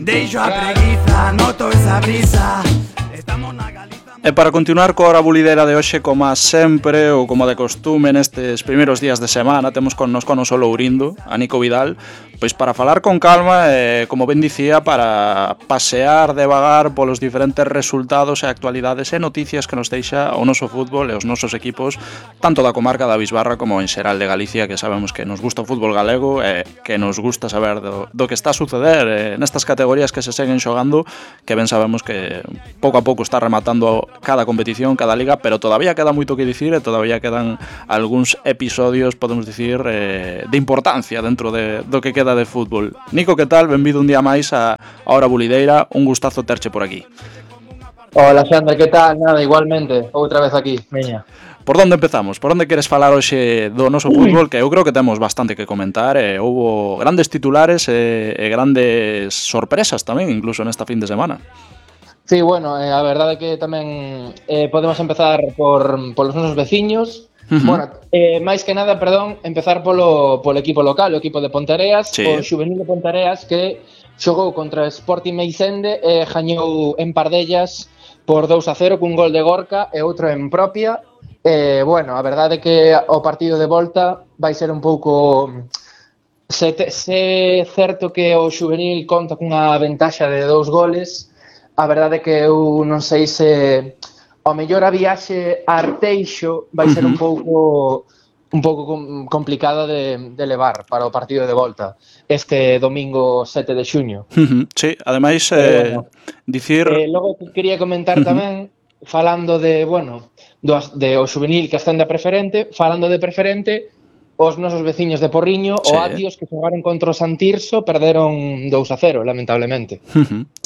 Deixo a preguiza, noto esa brisa. Estamos na Galiza. E para continuar coa hora bulideira de hoxe, como sempre ou como de costume nestes primeiros días de semana, temos connosco non só Lourindo, a Nico Vidal, pois para falar con calma e, como ben dicía, para pasear devagar polos diferentes resultados e actualidades e noticias que nos deixa o noso fútbol e os nosos equipos, tanto da comarca da Bisbarra como en xeral de Galicia, que sabemos que nos gusta o fútbol galego e que nos gusta saber do que está a suceder nestas categorías que se seguen xogando, que ben sabemos que pouco a pouco está rematando cada competición, cada liga, pero todavía queda moito que dicir e todavía quedan algúns episodios, podemos dicir, de importancia dentro do que queda de fútbol. Nico, que tal? Benvido un día máis a Hora Bulideira, un gustazo terche por aquí. Hola, Xander, que tal? Nada, igualmente, outra vez aquí, veña. Por onde empezamos? Por onde queres falar hoxe do noso fútbol? Que eu creo que temos bastante que comentar e houbo grandes titulares e grandes sorpresas tamén, incluso nesta fin de semana. Sí, bueno, a verdade é que tamén podemos empezar polos nosos veciños. Bueno, máis que nada, empezar polo equipo local, o equipo de Ponteareas, sí. O Xuvenil de Ponteareas, que xogou contra Sporting Meisende e gañou en Pardellas por 2-0 cun gol de Gorka e outro en propia. Bueno, a verdade é que o partido de volta vai ser un pouco... Se certo que o Xuvenil conta cunha ventaxa de 2 goles, a verdade é que eu non sei se ao mellor a viaxe a Arteixo vai ser un pouco complicada de levar para o partido de volta este domingo 7 de xuño. Sí, ademais dicir... Logo quería comentar tamén, falando de, bueno, de o Xuvenil que ascende a preferente, falando de preferente, os nosos veciños de Porriño, sí. O Atios, que xogaron contra o Santirso, perderon 2-0, lamentablemente.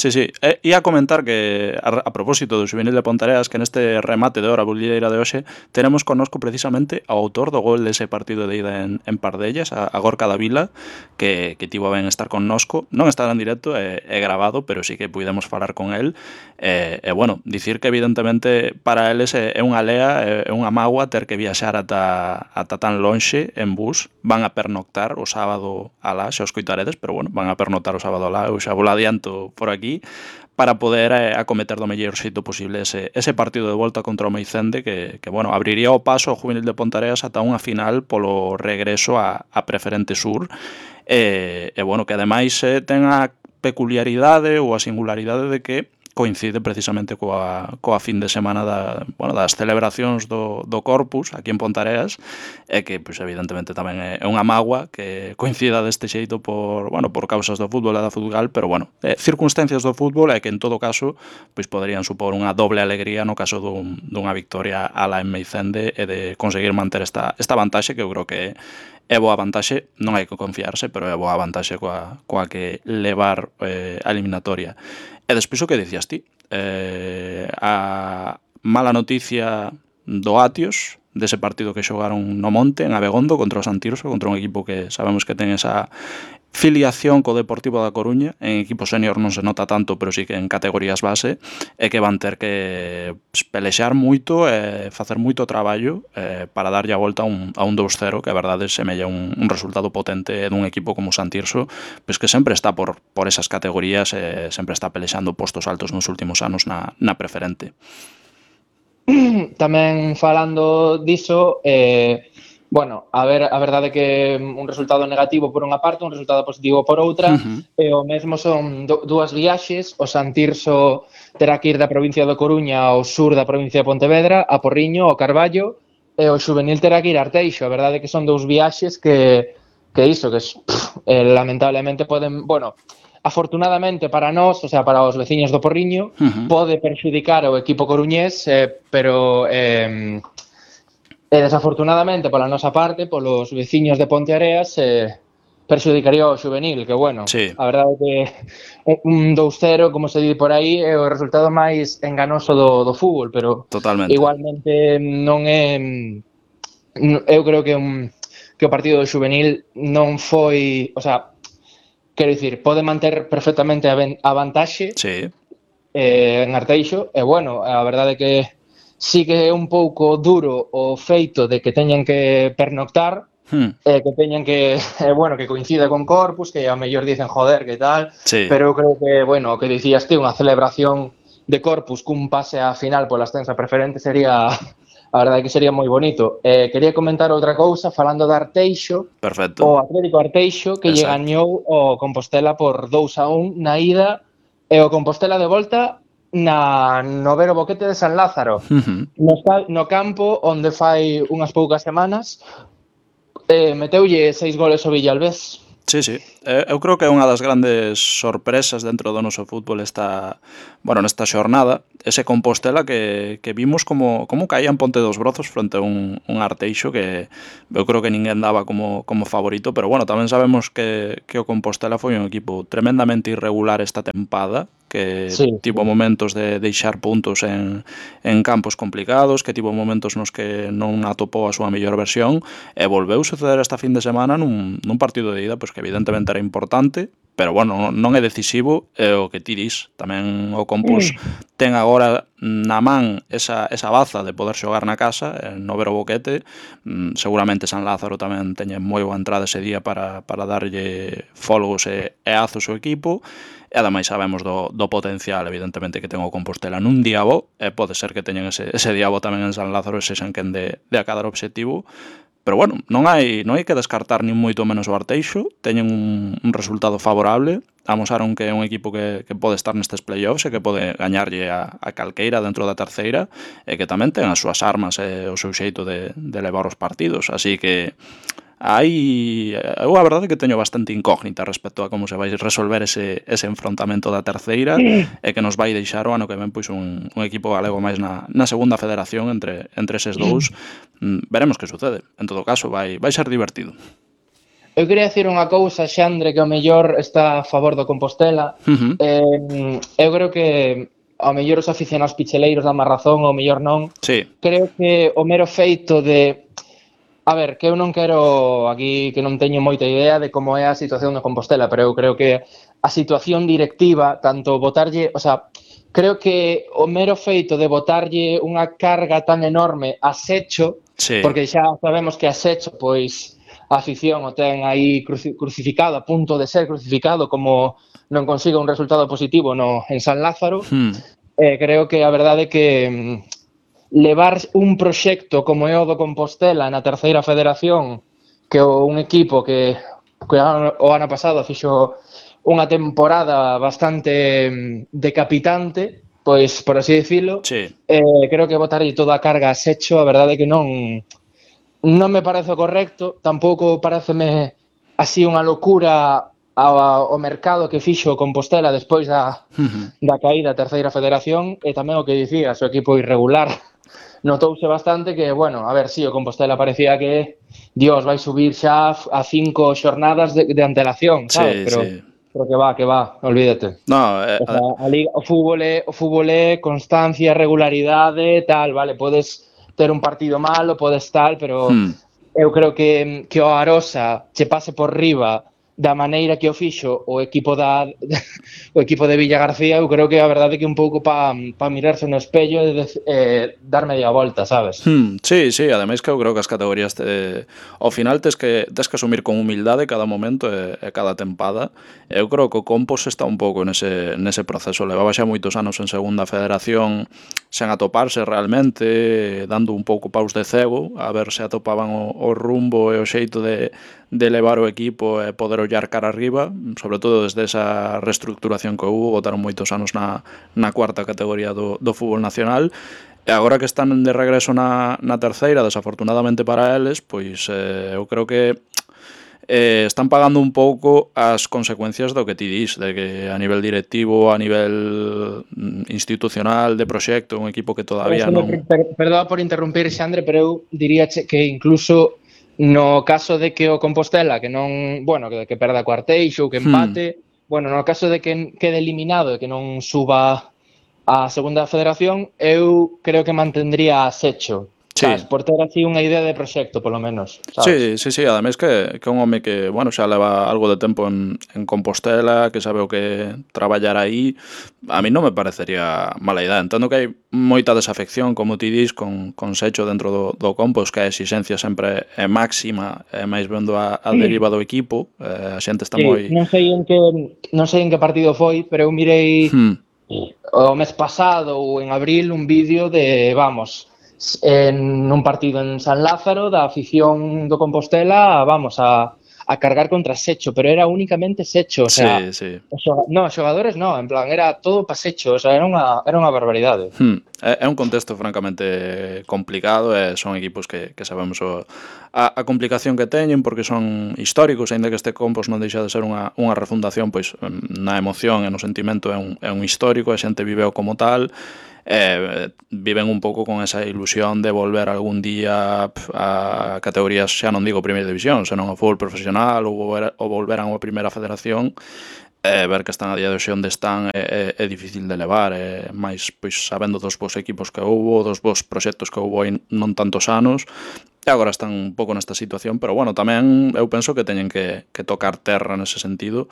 Sí. E a comentar que, a propósito do Xuvenil de Ponteareas, que neste remate de hora bulideira de hoxe, tenemos connosco precisamente ao autor do gol dese partido de ida en Pardellas, a Gorka Davila, que tivo a ben estar connosco. Non estará en directo, é grabado, pero sí que puidemos falar con el. E, bueno, dicir que evidentemente para eles é unha lea, é unha mágoa ter que viaxar ata tan lonxe en bus. Van a pernoctar o sábado alá, xa os coitaredes, pero bueno, van a pernoctar o sábado alá, eu xa vou adianto por aquí, para poder acometer do mellor xeito posible ese partido de volta contra o Meicende que bueno, abriría o paso ao Juvenil de Ponteareas ata unha final polo regreso a Preferente Sur e bueno, que ademais ten a peculiaridade ou a singularidade de que coincide precisamente coa fin de semana das celebracións do Corpus aquí en Ponteareas e que, pois, evidentemente tamén é unha mágoa que coincida deste xeito por causas do fútbol e da futgal, pero bueno, circunstancias do fútbol e que en todo caso pois poderían supor unha doble alegría no caso dunha victoria ala en Meicende e de conseguir manter esta vantaxe que eu creo que é boa vantaxe, non hai que confiarse, pero é boa vantaxe coa que levar a eliminatoria. E despois o que dicías ti, a mala noticia do Atios, dese partido que xogaron no Monte, en Abegondo, contra o Santirso, contra un equipo que sabemos que ten esa filiación co Deportivo da Coruña. En equipo senior non se nota tanto, pero sí que en categorías base, e que van ter que pelexar moito e facer moito traballo para darlle a volta a un 2-0, que a verdade semella un resultado potente dun equipo como o Santirso, pois que sempre está por esas categorías e sempre está pelexando postos altos nos últimos anos na preferente. Tamén falando diso, bueno, a verdade é que un resultado negativo por unha parte, un resultado positivo por outra, e o mesmo son dúas viaxes. O Santirso terá que ir da provincia de Coruña ao sur da provincia de Pontevedra, a Porriño, ao Carballo, e o Xuvenil terá que ir a Arteixo. A verdade é que son dous viaxes que lamentablemente poden, bueno, afortunadamente para nós, o sea, para os veciños do Porriño, pode perxudicar ao equipo coruñés, pero desafortunadamente pola nosa parte, polos veciños de Ponteareas, perxudicaría ao Xuvenil, que bueno, sí. A verdade é que un 2-0, como se di por aí, é o resultado máis enganoso do fútbol, pero totalmente. Igualmente non é... Eu creo que o partido do Xuvenil non foi... O sea, quero dicir, pode manter perfectamente a vantaxe, sí. En Arteixo, e bueno, a verdade é que sí que é un pouco duro o feito de que teñan que pernoctar, que teñen que, bueno, que coincida con Corpus, que a mellor dicen joder, que tal, pero eu creo que, bueno, o que dicías ti, unha celebración de Corpus cun pase á final pola ascensa preferente sería, a verdade que sería moi bonito. Quería comentar outra cousa, falando de Arteixo. Perfecto. O Atlético Arteixo, que lle gañou o Compostela por 2-1 na ida, e o Compostela de volta no Vero Boquete de San Lázaro, no campo onde fai unhas poucas semanas meteulle 6 goles ao Villalbés. Sí, sí. Eu creo que é unha das grandes sorpresas dentro do noso fútbol nesta xornada, ese Compostela que vimos como caía en Ponte dos Brozos frente a un Arteixo que eu creo que ninguén daba como favorito, pero bueno, tamén sabemos que o Compostela foi un equipo tremendamente irregular esta tempada, que tivo momentos de deixar puntos en campos complicados, que tivo momentos nos que non atopou a súa mellor versión, e volveu suceder esta fin de semana nun partido de ida, pois que evidentemente era importante, pero bueno, non é decisivo, é o que ti dis. Tamén o Compos ten agora na man esa baza de poder xogar na casa, no Vero Boquete. Seguramente San Lázaro tamén teñe moi boa entrada ese día para darlle folgos e azos ao equipo, e ademais sabemos do potencial, evidentemente, que ten o Compostela nun día bo, e pode ser que teñen ese día bo tamén en San Lázaro, ese xan quen de acadar obxectivo. Pero bueno, non hai que descartar nin moito menos o Arteixo, teñen un resultado favorable, amosaron que é un equipo que pode estar nestes playoffs e que pode gañarlle a calqueira dentro da terceira, e que tamén ten as súas armas e o seu xeito de levar os partidos, así que eu a verdade que teño bastante incógnita respecto a como se vai resolver ese enfrontamento da terceira, e que nos vai deixar o ano que ven pois un equipo galego máis na segunda federación entre eses dous. Veremos que sucede. En todo caso, vai ser divertido. Eu queria dicir unha cousa, Xandre, que ao mellor está a favor do Compostela. Eu creo que ao mellor os aficionados picheleiros dan máis razón, ao mellor non. Creo que o mero feito de... A ver, que eu non quero aquí, que non teño moita idea de como é a situación do Compostela, pero eu creo que a situación directiva, tanto botarlle, o sea, creo que o mero feito de botarlle unha carga tan enorme a Secho, porque xa sabemos que a Secho, pois, a afición o ten aí crucificado, a punto de ser crucificado, como non consiga un resultado positivo en San Lázaro, creo que a verdade é que levar un proxecto como é o do Compostela na terceira federación, que un equipo que o ano pasado fixo unha temporada bastante decapitante, pois, por así dicilo, creo que botarlle toda a carga a Secho, a verdade é que non me parece correcto, tampouco pareceme así unha locura ao mercado que fixo Compostela despois da caída da terceira federación, e tamén o que dicías, o equipo irregular. Notouse bastante que, bueno, a ver, o Compostela parecía que, Dios, vai subir xa a 5 xornadas de antelación, sabes? Pero que va, olvídate. No, o sea, a Liga, o fútbol é constancia, regularidade, tal, vale, podes ter un partido malo, podes tal, pero eu creo que o Arosa che pase por riba da maneira que o fixo o equipo de Villa García, eu creo que a verdade é que un pouco para mirarse no espello e dar media volta, sabes? Sí, ademais que eu creo que as categorías ao final tes que asumir con humildade cada momento e cada tempada. Eu creo que o Compos está un pouco nese proceso, levaba xa moitos anos en segunda federación sen atoparse realmente, dando un pouco paus de cego, a ver se atopaban o rumbo e o xeito de levar o equipo e poder ollar cara arriba, sobre todo desde esa reestructuración que houve, botaron moitos anos na cuarta categoría do fútbol nacional, e agora que están de regreso na terceira, desafortunadamente para eles, pois eu creo que están pagando un pouco as consecuencias do que ti dis, de que a nivel directivo, a nivel institucional, de proxecto, un equipo que todavía non... Perdón por interrumpir, Xandre, pero eu diría que incluso no caso de que o Compostela, que non, bueno, que perda co Arteixo ou que empate, bueno, no caso de que quede eliminado e que non suba a segunda federación, eu creo que mantendría a Secho. sabes, por ter así unha idea de proxecto, polo menos, sabes? Sí, ademais que é un home que, bueno, xa leva algo de tempo en Compostela, que sabe o que traballar aí. A mí non me parecería mala idea. Entendo que hai moita desafección, como ti dis, con Secho dentro do compost, que a exigencia sempre é máxima, e máis vendo a deriva do equipo, a xente está moi... non sei en que partido foi, pero eu mirei o mes pasado ou en abril un vídeo de, vamos, en un partido en San Lázaro da afición do Compostela, vamos, a cargar contra Secho, pero era únicamente Secho, o sea, Sí. No, xogadores no, en plan, era todo pa Secho, o sea, era unha barbaridade. É un contexto francamente complicado, e son equipos que sabemos a complicación que teñen, porque son históricos, aínda que este compost non deixa de ser unha refundación, pois na emoción e no sentimento é un histórico, a xente viveo como tal, viven un pouco con esa ilusión de volver algún día a categorías, xa non digo primeira división, senón ao fútbol profesional ou volver a unha primeira federación. Ver que están a día de hoxe onde están é difícil de levar, máis pois sabendo dos bons equipos que houbo, dos bons proxectos que houbo hai non tantos anos, e agora están un pouco nesta situación, pero bueno, tamén eu penso que teñen que tocar terra nese sentido.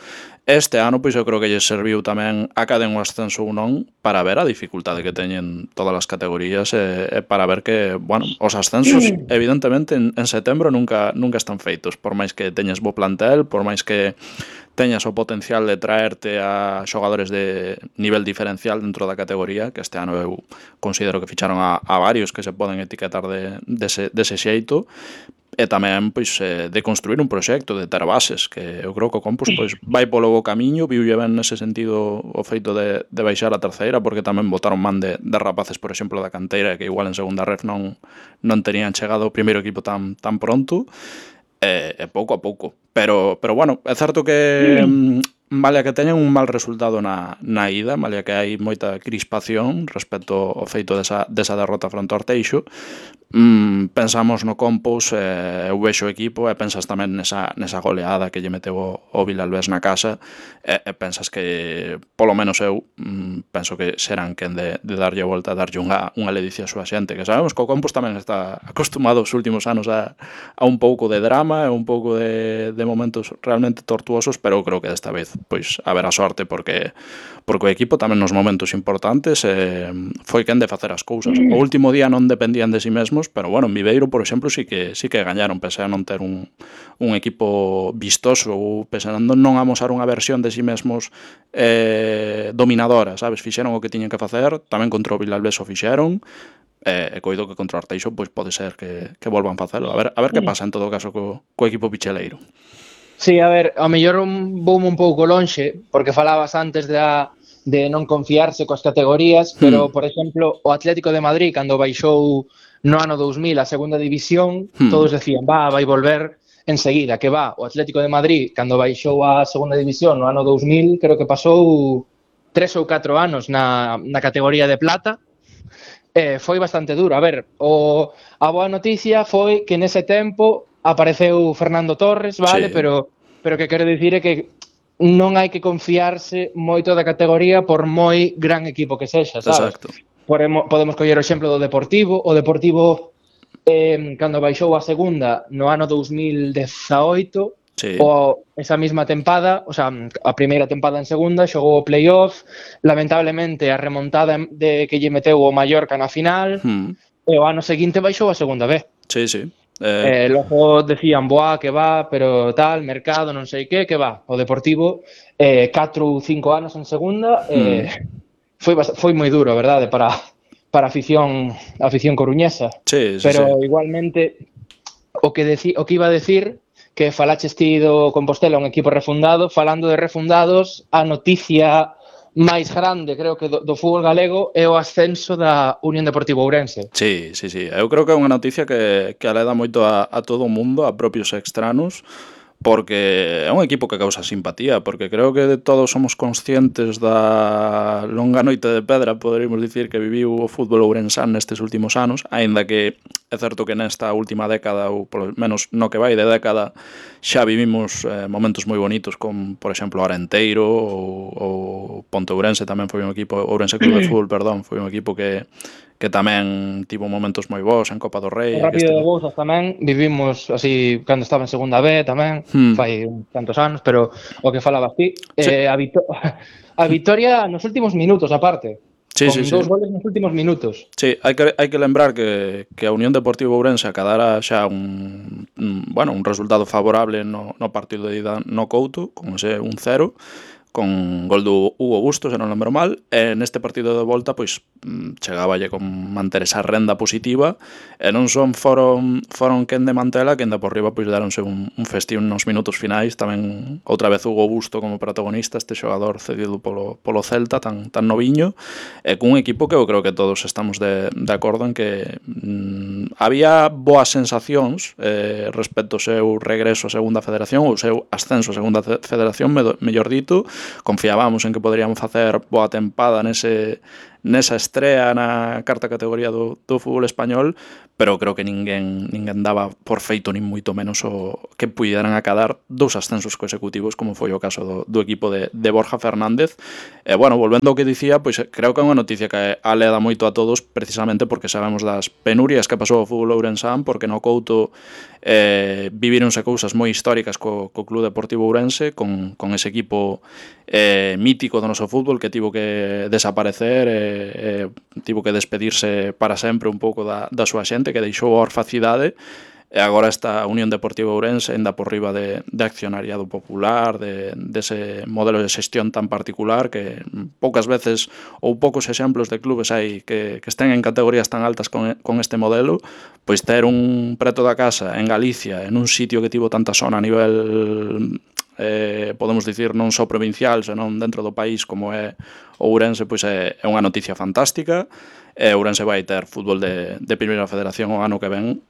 Este ano, pois eu creo que lles serviu tamén a caden o ascenso ou non, para ver a dificultade que teñen todas as categorías, e para ver que, bueno, os ascensos evidentemente en setembro nunca están feitos, por máis que teñas bo plantel, por máis que teñas o potencial de traerte a xogadores de nivel diferencial dentro da categoría, que este ano eu considero que ficharon a varios que se poden etiquetar dese xeito, e tamén pois de construir un proxecto, de ter bases, que eu creo que o Compos pois vai polo bo camiño, viulle ben nese sentido o feito de baixar a terceira, porque tamén botaron man de rapaces, por exemplo, da canteira, que igual en segunda ref non terían chegado ao primeiro equipo tan pronto, e pouco a pouco. Pero bueno, é certo que malia que teñen un mal resultado na ida, malia que hai moita crispación respecto ao feito desa derrota fronte ao Arteixo, pensamos no Compos, eu vexo o equipo e pensas tamén nesa goleada que lle meteu o Vilalbés na casa, e pensas que, polo menos eu, penso que serán quen de darlle a volta, darlle unha ledicia a súa xente, que sabemos que o Compos tamén está acostumado os últimos anos a un pouco de drama e un pouco de momentos realmente tortuosos, pero eu creo que desta vez pois haberá sorte, porque o equipo tamén nos momentos importantes foi quen de facer as cousas. O último día non dependían de si mesmos, pero bueno, en Viveiro, por exemplo, sí que gañaron, pese a non ter un equipo vistoso, ou pese a non amosar unha versión de si mesmos dominadora, sabes? Fixeron o que tiñen que facer, tamén contra o Vilalbés o fixeron, e coido que contra o Arteixo pois pode ser que volvan facelo. A ver que pasa en todo caso co equipo picheleiro. Sí, a ver, ao mellor voume un pouco lonxe, porque falabas antes de non confiarse coas categorías, pero, por exemplo, o Atlético de Madrid, cando baixou no ano 2000 a segunda división, todos decían, vai volver enseguida, que va. O Atlético de Madrid, cando baixou a segunda división no ano 2000, creo que pasou 3 ou 4 anos na categoría de plata, foi bastante duro. A ver, a boa noticia foi que nese tempo apareceu Fernando Torres, vale, sí. Pero que quero dicir é que non hai que confiarse moito da categoría por moi gran equipo que sexa, sabes? Exacto. Podemos coller o exemplo do Deportivo. O Deportivo, cando baixou a segunda no ano 2018, sí. Esa mesma tempada, o sea, a primeira tempada en segunda, xogou o playoff, lamentablemente a remontada de que lle meteu o Mallorca na final, e o ano seguinte baixou a segunda B. Sí, sí. Logo decían, que va, pero tal, mercado, non sei que va. O Deportivo, 4 ou 5 anos en segunda, foi moi duro, verdade, para a afición coruñesa. Sí, pero igualmente, o que iba a decir, que falaches ti do Compostela, un equipo refundado, falando de refundados, a noticia máis grande, creo que do fútbol galego é o ascenso da Unión Deportiva Ourense. Sí. Eu creo que é unha noticia que aleda moito a todo o mundo, a propios extranos, porque é un equipo que causa simpatía, porque creo que todos somos conscientes da longa noite de pedra, poderíamos dicir, que viviu o fútbol ourensán nestes últimos anos, aínda que é certo que nesta última década, ou polo menos no que vai de década, xa vivimos momentos moi bonitos, como, por exemplo, Arenteiro ou Ponte Ourense tamén foi un equipo, Ourense Club de Fútbol, perdón, foi un equipo que tamén tivo momentos moi bons en Copa do Rei. O Rápido de Bouzas tamén vivimos así cando estaba en segunda B tamén, fai tantos anos, pero o que falabas ti, sí. A vitoria nos últimos minutos aparte. Sí, con dous goles nos últimos minutos. Sí, hai que lembrar que a Unión Deportiva Ourense acadara xa un resultado favorable no partido de ida no Couto, con ese 1-0, con gol do Hugo Bustos, se non lembro mal, e neste partido de volta pois chegáballe con manter esa renda positiva, e non son foron quen de mantela, que ainda por riba pois deronse un festín nos minutos finais, tamén outra vez Hugo Busto como protagonista, este xogador cedido polo Celta, tan noviño, e cun equipo que eu creo que todos estamos de acordo en que había boas sensacións respecto ao seu regreso a Segunda Federación, ou o seu ascenso a Segunda Federación, mellor dito. Confiábamos en que poderíamos facer boa tempada nesa estrea na cuarta categoría do fútbol español, pero creo que ninguén daba por feito nin moito menos o que puideran acadar 2 ascensos consecutivos, como foi o caso do equipo de Borja Fernández. E bueno, volvendo ao que dicía, pois creo que é unha noticia que aleda moito a todos, precisamente porque sabemos das penurias que pasou o fútbol ourensán, porque no Couto vivironse cousas moi históricas co Club Deportivo Ourense, con ese equipo mítico do noso fútbol que tivo que desaparecer, tivo que despedirse para sempre un pouco da súa xente, que deixou a orfacidade, e agora esta Unión Deportiva Ourense ainda por riba de accionariado popular, dese modelo de xestión tan particular que poucas veces ou poucos exemplos de clubes hai que estén en categorías tan altas con este modelo, pois ter un preto da casa en Galicia, en un sitio que tivo tanta zona a nivel podemos dicir non só provincial, senón dentro do país como é Ourense, pois é unha noticia fantástica. Ourense vai ter fútbol de primeira federación o ano que ven,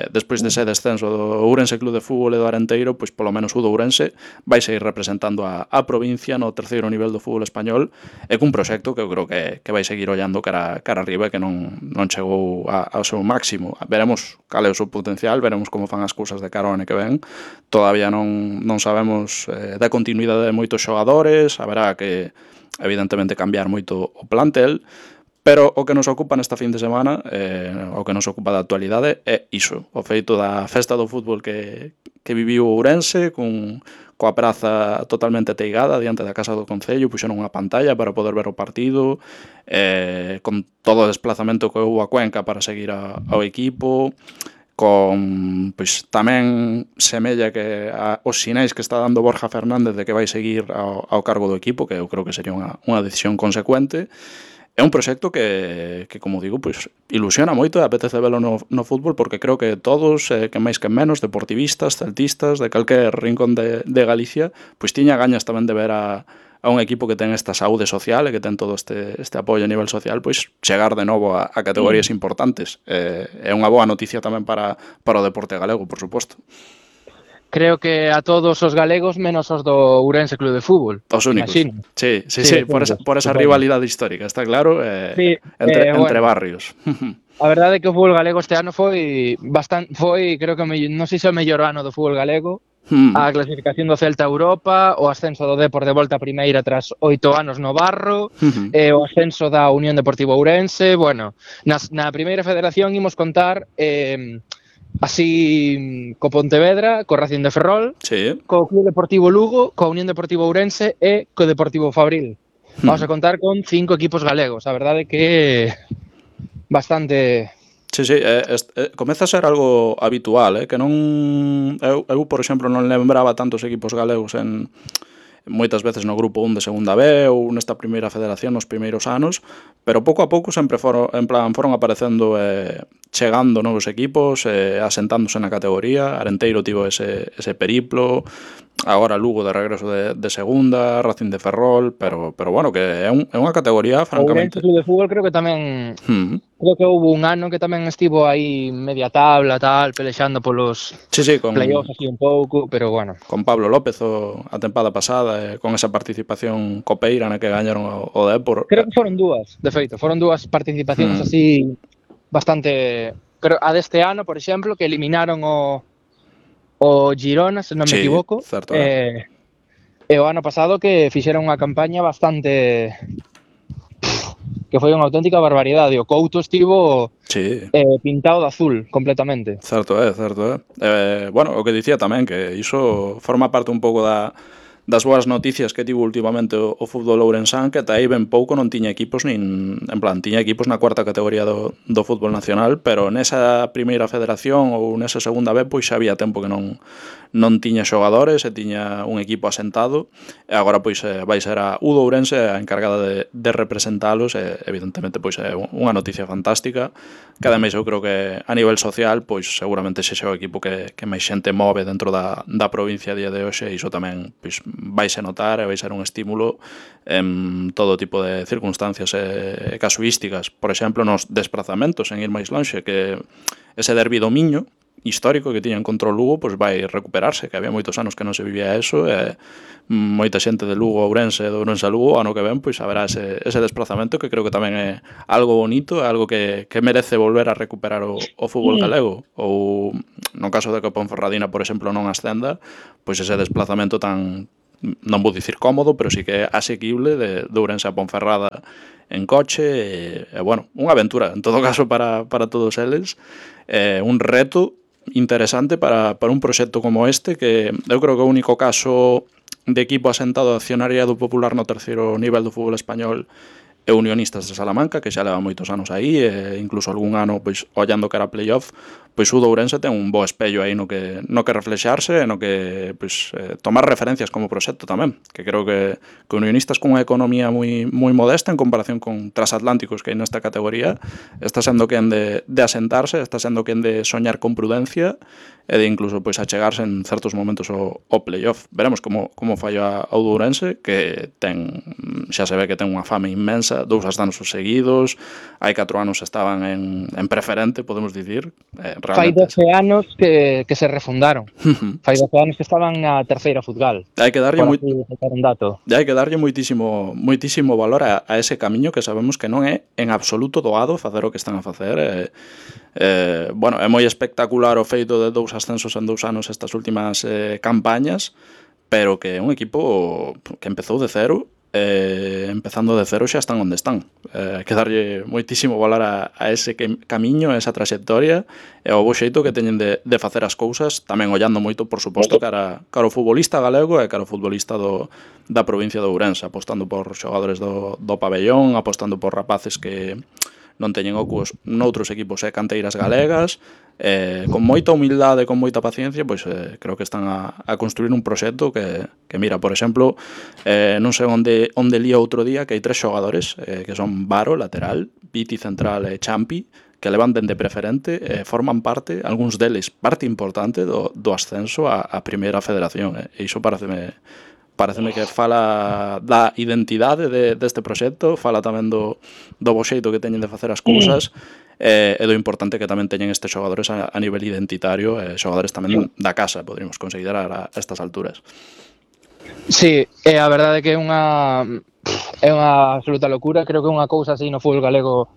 despois dese descenso do Ourense Club de Fútbol e do Arenteiro, pois polo menos o do Ourense vai seguir representando a provincia no terceiro nivel do fútbol español, e cun proxecto que eu creo que vai seguir ollando cara arriba, que non chegou ao seu máximo. Veremos cal é o seu potencial, veremos como fan as cousas de cara ao ano que ven. Todavía non sabemos da continuidade de moitos xogadores, haberá que evidentemente cambiar moito o plantel, pero o que nos ocupa nesta fin de semana, o que nos ocupa da actualidade, é iso, o feito da festa do fútbol que viviu Ourense, coa praza totalmente teigada diante da casa do Concello, puxeron unha pantalla para poder ver o partido, con todo o desplazamento que houve a Cuenca para seguir ao equipo, con pois tamén semella que os sinais que está dando Borja Fernández de que vai seguir ao cargo do equipo, que eu creo que sería unha decisión consecuente. É un proxecto que como digo, pois ilusiona moito e apetece velo no fútbol, porque creo que todos, que máis que menos, deportivistas, celtistas, de calquer rincón de Galicia, pois tiña gañas tamén de ver a un equipo que ten esta saúde social e que ten todo este apoio a nivel social, pois chegar de novo a categorías importantes. É unha boa noticia tamén para o deporte galego, por suposto. Creo que a todos os galegos menos os do Ourense Club de Fútbol. Os únicos. Sí, por esa rivalidade histórica, está claro, entre barrios. A verdade é que o fútbol galego este ano foi creo que non sei se o mellor ano do fútbol galego. A clasificación do Celta a Europa, o ascenso do Depor de volta a primeira tras 8 anos no barro, o ascenso da Unión Deportiva Ourense. Bueno, na primeira federación imos contar así co Pontevedra, co Racing de Ferrol, sí, co Club Deportivo Lugo, co Unión Deportiva Ourense e co Deportivo Fabril. Vamos a contar con 5 equipos galegos. A verdade é que bastante... Sí, comeza a ser algo habitual, que non... Eu, por exemplo, non lembraba tantos equipos galegos moitas veces no grupo 1 de segunda B ou nesta primeira federación nos primeiros anos, pero pouco a pouco sempre foron aparecendo chegando novos equipos, asentándose na categoría. Arenteiro tivo ese periplo, agora Lugo de regreso de segunda, Racing de Ferrol, pero bueno, que é unha categoría francamente. O Ourense Club de Fútbol creo que tamén creo que houve un ano que tamén estivo aí media tabla, tal, pelexando polos playoffs así un pouco, pero bueno. Con Pablo López a tempada pasada, con esa participación copeira na que gañaron o Dépor. Creo que foron dúas, de feito, foron dúas participacións así bastante... Creo a deste ano, por exemplo, que eliminaron o Girona, se non me equivoco. Certo, e o ano pasado que fixeron unha campaña bastante... que foi unha auténtica barbaridade. O Couto estivo pintado de azul completamente. Certo é. Bueno, o que dicía tamén, que iso forma parte un pouco das boas noticias que tivo últimamente o fútbol ourensán, que ata aí ben pouco non tiña equipos tiña equipos na cuarta categoría do fútbol nacional, pero nesa primeira federación ou nesa segunda B pois xa había tempo que non tiña xogadores e tiña un equipo asentado, e agora pois vai ser a U do Ourense a encargada de representalos, e evidentemente pois é unha noticia fantástica, que ademais eu creo que a nivel social pois seguramente sexa o equipo que máis xente move dentro da provincia a día de hoxe, e iso tamén pois vaise notar e vai ser un estímulo en todo tipo de circunstancias e casuísticas. Por exemplo, nos desplazamentos, en ir máis lonxe, que ese derbi do Miño histórico que tiñan contra o Lugo pois vai recuperarse, que había moitos anos que non se vivía eso, e moita xente de Lugo a Ourense, de Ourense a Lugo, ano que ven pois haberá ese desplazamento, que creo que tamén é algo bonito, é algo que merece volver a recuperar o fútbol galego. Ou no caso de que o Ponferradina, por exemplo, non ascenda, pois ese desplazamento tan, non vou dicir cómodo, pero sí que é asequible de Ourense a Ponferrada en coche, e bueno, unha aventura en todo caso para todos eles, un reto interesante para un proxecto como este, que eu creo que o único caso de equipo asentado accionariado popular no terceiro nivel do fútbol español e Unionistas de Salamanca, que xa leva moitos anos aí, e incluso algún ano, pois, ollando que era playoff, pois o Ourense ten un bo espello aí no que reflexarse, no que pois, tomar referencias como proxecto tamén, que creo que Unionistas cunha economía moi modesta en comparación con Transatlánticos que hai nesta categoría, está sendo quen de asentarse, está sendo quen de soñar con prudencia e de incluso pois achegarse en certos momentos o playoff. Veremos como falla o Ourense, que xa se ve que ten unha fame inmensa, 2 anos seguidos, hai 4 anos estaban en preferente, podemos dicir. Fai 12 anos que se refundaron. Fai 12 anos que estaban na terceira futgal. Hai que darlle moitísimo valor a ese camiño, que sabemos que non é en absoluto doado facer o que están a facer. Bueno, é moi espectacular o feito de 2 ascensos en 2 anos estas últimas campañas, pero que é un equipo que empezou de cero, empezando de cero xa están onde están. Hai que darlle moitísimo valor a ese camiño, a esa trayectoria, e ao bo xeito que teñen de facer as cousas, tamén ollando moito, por suposto, cara ao futbolista galego e cara ao futbolista da provincia de Ourense, apostando por xogadores do pabellón, apostando por rapaces que non teñen ocos noutros equipos e canteiras galegas, con moita humildade, con moita paciencia, pois creo que están a construir un proxecto que mira, por exemplo, non sei onde lía outro día que hai 3 xogadores, que son Varo, lateral, Piti, central e Champi, que levan dende preferente, forman parte, algúns deles, parte importante do ascenso a primeira federación, e iso pareceme que fala da identidade deste proxecto, fala tamén do bo xeito que teñen de facer as cousas, e do importante que tamén teñen estes xogadores a nivel identitario, xogadores tamén da casa, poderíamos considerar a estas alturas. Sí, a verdade é que é unha absoluta locura. Creo que unha cousa así no fútbol galego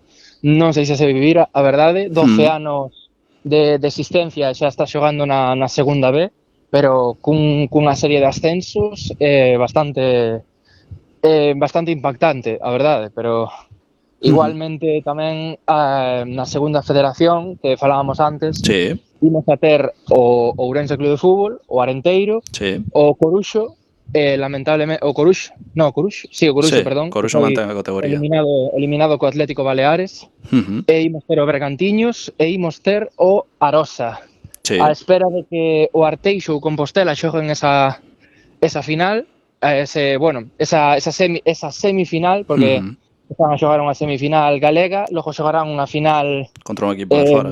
non sei se vivira, a verdade. 12 anos de existencia, xa está xogando na segunda B, pero cunha serie de ascensos bastante impactante, a verdade, pero igualmente tamén na segunda federación que falábamos antes, imos a ter o Ourense Club de Fútbol, o Arenteiro, o Coruxo, lamentablemente o Coruxo, perdón, Coruxo mantén a categoría, eliminado co Atlético Baleares, e imos ter o Bergantiños e imos ter o Arosa. A espera de que o Arteixo ou Compostela xoguen esa final, esa semifinal, porque están a xogar unha semifinal galega, logo xogarán unha final contra un equipo de fora.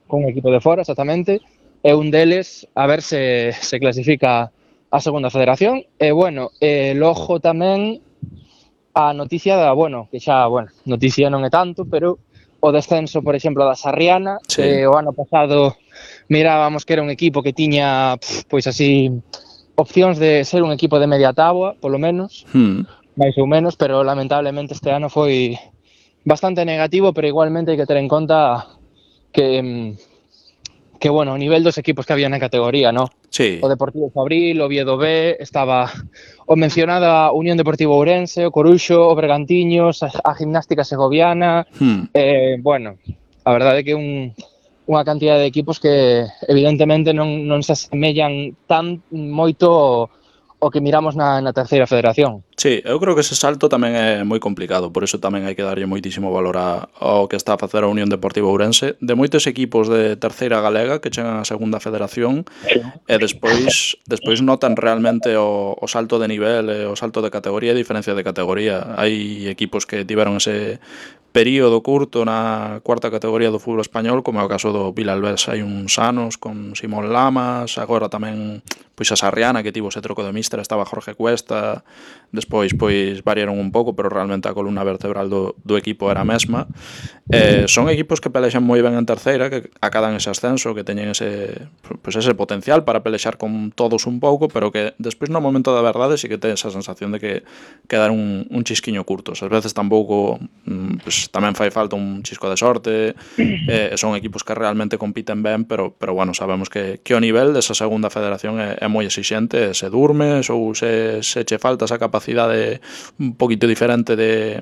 Con un equipo de fora, exactamente, e un deles a ver se clasifica a segunda federación. E, bueno, logo tamén a noticia que xa, noticia non é tanto, pero o descenso, por exemplo, da Sarriana, sí. que o ano pasado mirábamos que era un equipo que tiña, pois así, opcións de ser un equipo de media táboa, polo menos, máis ou menos, pero lamentablemente este ano foi bastante negativo, pero igualmente hai que ter en conta que bueno, o nivel dos equipos que había na categoría, ¿no? Sí. O Deportivo Fabril, o Oviedo B, estaba o mencionada Unión Deportivo Ourense, o Coruxo, o Bergantiños, a Gimnástica Segoviana, bueno, a verdade é que unha cantidad de equipos que evidentemente non se asemellan tan moito o que miramos na terceira federación. Sí, eu creo que ese salto tamén é moi complicado, por iso tamén hai que darlle moitísimo valor ao que está a facer a Unión Deportiva Ourense. De moitos equipos de terceira galega que chegan á segunda federación e despois notan realmente o salto de nivel, o salto de categoría e diferencia de categoría. Hai equipos que tiveron ese período curto na cuarta categoría do fútbol español, como é o caso do Vilalbés hai uns anos, con Simón Lamas, agora tamén pois a Sarriana, que tivo ese troco de míster, estaba Jorge Cuesta, despois pois variaron un pouco, pero realmente a columna vertebral do equipo era a mesma. Son equipos que pelexan moi ben en terceira, que acadan ese ascenso, que teñen ese potencial para pelexar con todos un pouco, pero que despois no momento da verdade sí que ten esa sensación de que quedaron un chisquiño curtos. Ás veces tampouco pues, tamén fai falta un chisco de sorte, son equipos que realmente compiten ben, pero bueno, sabemos que o nivel desa segunda federación é moi exixente, se durmes ou se che falta esa capacidade un poquito diferente de